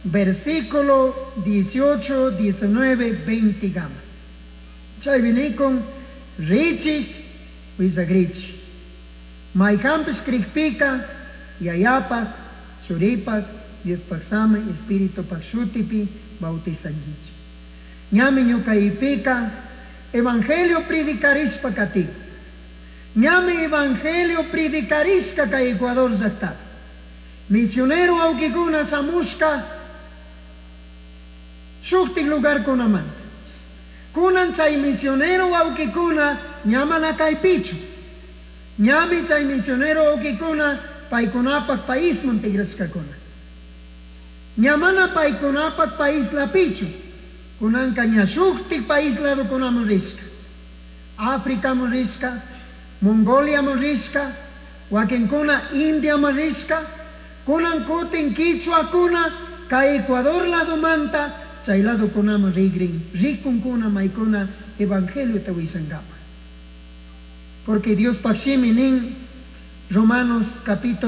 versículo 18, 19, 20 gama. Chaypi nikun richij huillagrichij. Maijanpish crijpica Yayapaj, Churipaj, Diospaj Samai Espiritupaj shutipi bautizanguichij. Ñami ñucaipika evangelio predicarishpa katin. Ñami evangelio predicarishka kay Ecuador llaktapi. Misionero wawkikuna shamushka shuktik lugarkunamanta. Kunan chay misionero wawkikuna ña mana kaypichu. Ñami chay misionero wawkikuna paykunapak paisman tigrashkakuna. Ña mana paykunapak paislapichu. Kunanka ña shuktik país ladokunaman rishka. Africaman rishka, Mongoliaman rishka, wakinkuna Indiaman rishka, kunan kutin quichuakuna kay Ecuador ladomanta chay ladokunaman rigrin, rikunkuna maykuna evangeliota willankapak. Porque Diospaj shimi nin Romanos capítulo.